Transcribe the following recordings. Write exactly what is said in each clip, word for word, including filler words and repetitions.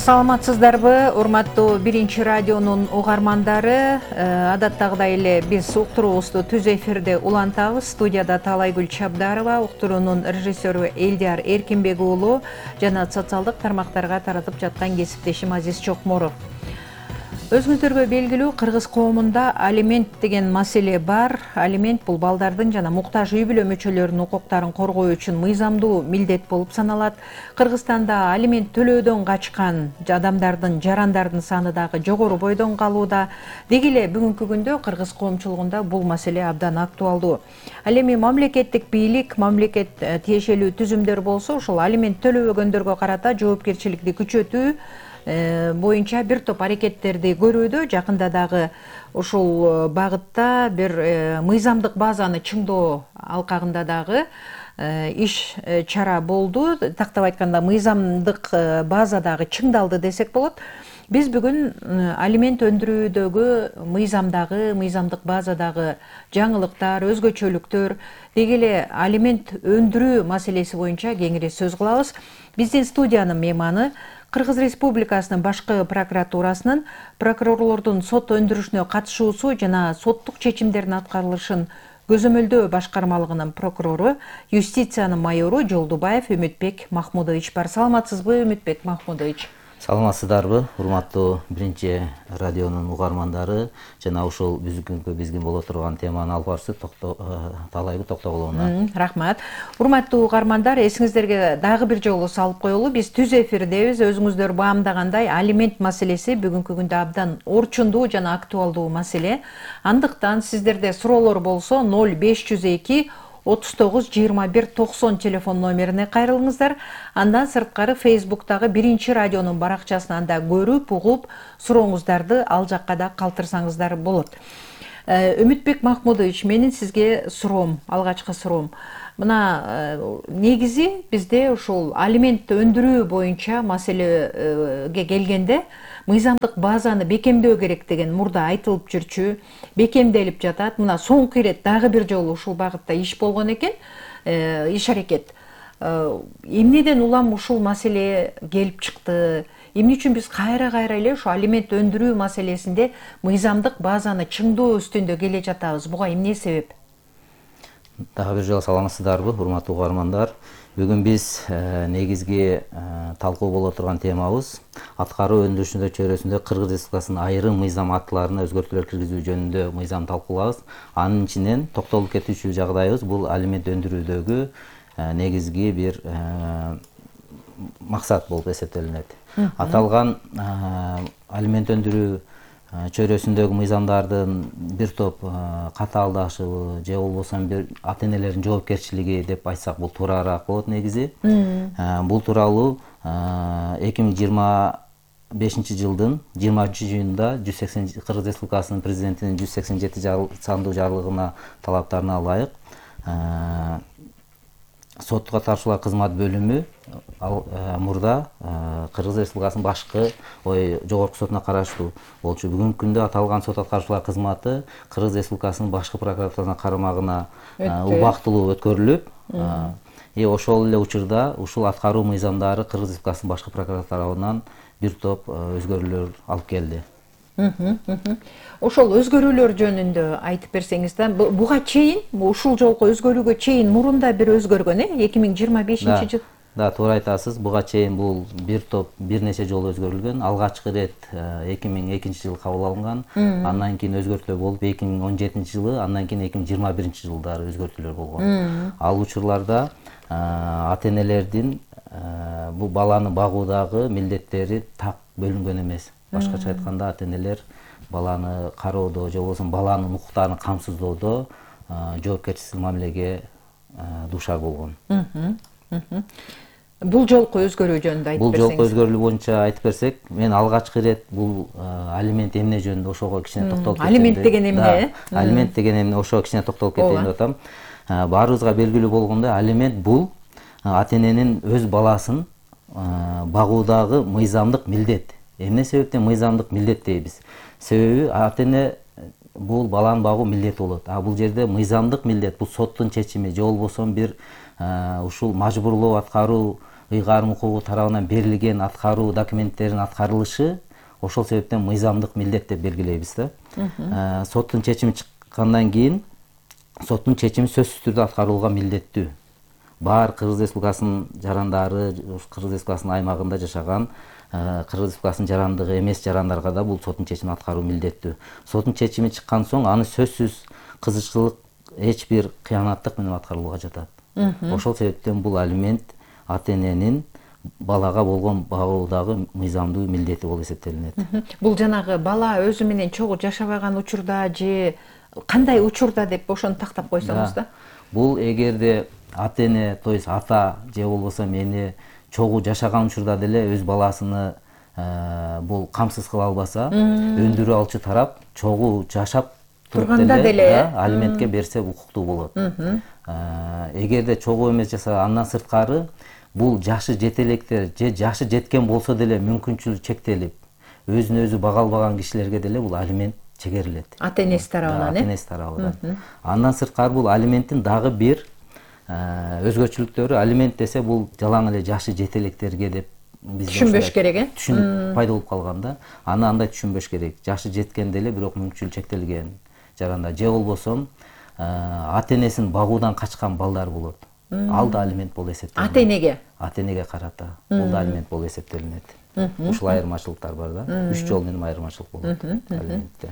Саламатсыздарбы, урматтуу биринчи радионун угармандары. Адаттагыдай эле биз уктуруубузду түз эфирде улантабыз. Студияда Талайгүл Чабдарова, уктуруунун режиссеру Элдияр Эркинбек уулу жана социалдык тармактарга таратып жаткан кесиптешим Азиз Чокморов. Өзүңүздөргө белгилүү, кыргыз коомунда алимент деген маселе бар. Алимент бул балдардын жана муктаж үй бүлө мүчөлөрүнүн укуктарын коргоо үчүн мыйзамдуу милдет болуп саналат. Кыргызстанда алимент төлөөдөн качкан адамдардын, жарандардын саны дагы жогору бойдон калууда. Деги эле бүгүнкү күндө кыргыз коомчулугунда бул маселе абдан актуалдуу. Ал эми мамлекеттик бийлик, мамлекет тиешелүү түзүмдөр болсо, ушул алимент төлөбөгөндөргө карата жоопкерчиликти күчөтүү боюнча бир топ аракеттерди көрүүдө. Жакында дагы ушул багытта бир мыйзамдык базаны чыңдоо алкагында дагы иш чара болду. Тактап айтканда, мыйзамдык база дагы чыңдалды десек болот. Биз бүгүн алимент өндүрүүдөгү мыйзамдагы, мыйзамдык базадагы жаңылыктар, өзгөчөлүктөр, деги эле алимент өндүрүү маселеси боюнча кеңири сөз кылабыз. Биздин студиянын мейманы Кыргыз Республикасынын башкы прокуратурасынын прокурорлордун сот өндүрүшүнө катышуусу жана соттук чечимдердин аткарылышын көзөмөлдөө башкармалыгынын прокурору, юстициянын майору Жолдубаев Үмүтбек Махмудович бар. Саламатсызбы, Үмүтбек Махмудович? Саламатсыздарбы, урматтуу биринчи радионун угармандары жана ушул бүгүнкү бизге боло турган теманы алып барчы Талайгүл токтогуловна. Рахмат. Урматтуу угармандар, эсиңиздерге дагы бир жолу салып коелу. Биз түз эфирдебиз. Өзүңүздөр баамдагандай, алимент маселеси бүгүнкү күндө абдан орчундуу жана актуалдуу маселе. Андыктан сиздерде суроолор болсо ноль беш жүз эки отуз тогуз жыйырма бир токсон телефон номерине кайрылыңыздар. Андан сырткары Фейсбуктагы биринчи радионун баракчасынан да көрүп, угуп, сурооңуздарды ал жакка да калтырсаңыздар болот. Үмүтбек Махмудович, менин сизге суроом, алгачкы суроом. Мына негизи бизде ушул алимент өндүрүү боюнча маселеге келгенде мыйзамдык базаны бекемдөө керек деген мурда айтылып жүрчү, бекемделип жатат. Мына соңку ирет дагы бир жолу ушул багытта иш болгон экен, иш аракет. Эмнеден улам ушул маселе келип чыкты? Эмне үчүн биз кайра-кайра эле ушу алимент өндүрүү маселесинде мыйзамдык базаны чыңдоо үстүндө келе жатабыз? Буга эмне себеп? Дагы бир жолу саламатсыздарбы, урматтуу угармандар? Бүгүн биз негизги талкуу боло турган темабыз аткаруу өндүрүшүндө чөйрөсүндө Кыргыз Республикасынын айрым мыйзам актыларына өзгөртүүлөр киргизүү жөнүндө мыйзам талкуулабыз. Анын ичинен токтолуп кетүүчү жагдайыбыз бул алимент өндүрүүдөгү негизги бир максат болуп эсептелинет. Аталган алимент өндүрүү чөйрөсүндөгү мыйзамдардын бир топ катаалдашыбы же болбосо бир ата-энелердин жоопкерчилиги деп айтсак бул туурараак болот негизи. Бул тууралуу эки миң жыйырма бешинчи жылдын жыйырма үчүнчү июнда жүз сексен Кыргыз Республикасынын президентинин жүз сексен жети сандуу жарлыгына талаптарына ылайык соттук аткарчылар кызмат бөлүмү мурда Кыргыз Республикасынын башкы ой жогорку сотуна караштуу болчу. Бүгүнкү күндө аталган сот аткарчылар кызматы Кыргыз Республикасынын башкы прокуратурасынын карамагына убактылуу өткөрүлүп, и ошол эле учурда ушул аткаруу мыйзамдары Кыргыз Республикасынын башкы прокуратурасынан бир топ өзгөрүүлөр алып келди. Ошол өзгөрүүлөр жөнүндө айтып берсеңиз да, буга чейин, ушул жолку өзгөрүүгө чейин мурунда бир өзгөргөн, э, эки миң жыйырма бешинчи жыл. Да, туура айтасыз. Буга чейин бул бир топ бир нече жолу өзгөрүлгөн. Алгачкы ирет эки миң экинчи жылы кабыл алынган. Андан кийин өзгөртүүлөр болуп эки миң он жетинчи жылы, андан кийин эки миң жыйырма биринчи жылдары өзгөртүүлөр болгон. Ал учурларда ата-энелердин бул баланы багуудагы милдеттери так бөлүнгөн эмес. Башкача айтканда, ата-энелер баланы кароодо же болбосо баланын укуктарын камсыздоодо жоопкерчиликсиз мамилеге дуушар болгон. Бул жолку өзгөрүү жөнүндө айтып берсеңиз. Бул жолку өзгөрүү боюнча айтып берсек, мен алгачкы ирет бул алимент эмне жөнүндө ошого кичине токтолуп кетейин. Алимент деген эмне? Алимент деген эмне, ошого кичине токтолуп кетейин деп атам. Баарыбызга белгилүү болгондой, алимент бул ата-эненин өз баласын багуудагы мыйзамдык милдет. Эмне себептен мыйзамдык милдет дейбиз? Себеби ата-эне бул баланы багуу милдет болот. А бул жерде мыйзамдык милдет, бул соттун чечими же болбосо бир ушул мажбурлоо аткаруу ыйгарым укугу тарабынан берилген аткаруу документтеринин аткарылышы ошол себептен мыйзамдык милдет деп белгилейбиз да. Соттун чечими чыккандан кийин соттун чечими сөзсүз түрдө аткарылууга милдеттүү. Бар Кыргыз Республикасынын жарандары, Кыргыз Республикасынын аймагында жашаган Кыргыз Республикасынын жарандыгы эмес жарандарга да бул соттун чечимин аткаруу милдеттүү. Соттун чечими чыккан соң аны сөзсүз кызыкчылык эч бир кыянаттык менен аткарылууга жатат. Ошол себептен бул алимент ата эненин балага болгон багуудагы мыйзамдуу милдети болуп эсептелинет. Бул жанагы бала өзү менен чогуу жашабаган учурда же кандай учурда деп ошону тактап койсоңуз да. Бул эгерде ата эне, то есть ата же болбосо эне чогуу жашаган учурда деле өз баласыны бул камсыз кыла албаса, өндүрүү алчу тарап чогуу жашап турганда деле алиментке берсе укуктуу болот. Эгерде чогуу эмес жаса, андан сырткары бул жашы жетелектер же жашы жеткен болсо деле мүмкүнчүлүгү чектелип, өзүн өзү бага албаган кишилерге деле бул алимент чегерилет. Ата энеси тарабынан, э? Ата энеси тарабынан. Андан сырткары бул алименттин дагы бир өзгөчөлүктөрү, алимент десе бул жалаң эле жашы жетелектерге деп биз түшүнбөш керек, э? Түшүнүп пайда болуп калган да. Аны андай түшүнбөш керек. Жашы жеткен деле бирок мүмкүнчүлүгү чектелген жаранда же болбосо ата энесин багуудан качкан балдар болот. Ал да алимент болуп эсептелинет. Ата энеге? Ата энеге карата. Бул да алимент болуп эсептелинет. Ушул айырмачылыктар бар да. Үч жол менен айырмачылык болот алиментте.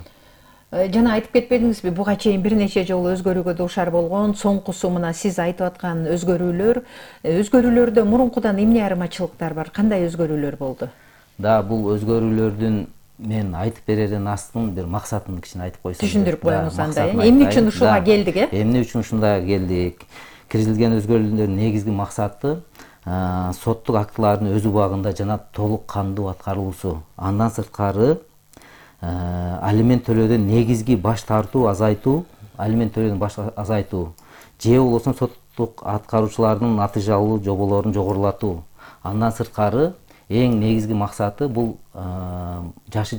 Жана айтып кетпедиңизби, буга чейин бир нече жолу өзгөрүүгө дуушар болгон, соңкусу мына сиз айтып аткан өзгөрүүлөр, өзгөрүүлөрдө мурункудан эмне айырмачылыктар бар? Кандай өзгөрүүлөр болду? Да, бул өзгөрүүлөрдүн мен айтып берерден астын бир максатын кичине айтып койсом. Түшүндүрүп коюңуз анда. Эмне үчүн ушуга келдик, э? Эмне үчүн ушундай келдик? Киргизилген өзгөрүүлөрдүн негизги максаты соттук актылардын өз убагында жана толук кандуу аткарылуусу. Андан сырткары алимент төлөөдөн негизги баш тартуу, азайтуу, алимент төлөөдөн баш азайтуу, же болбосо соттук аткаруучулардын натыйжалуу жоболорун жогорулатуу. Андан сырткары эң негизги максаты бул жашы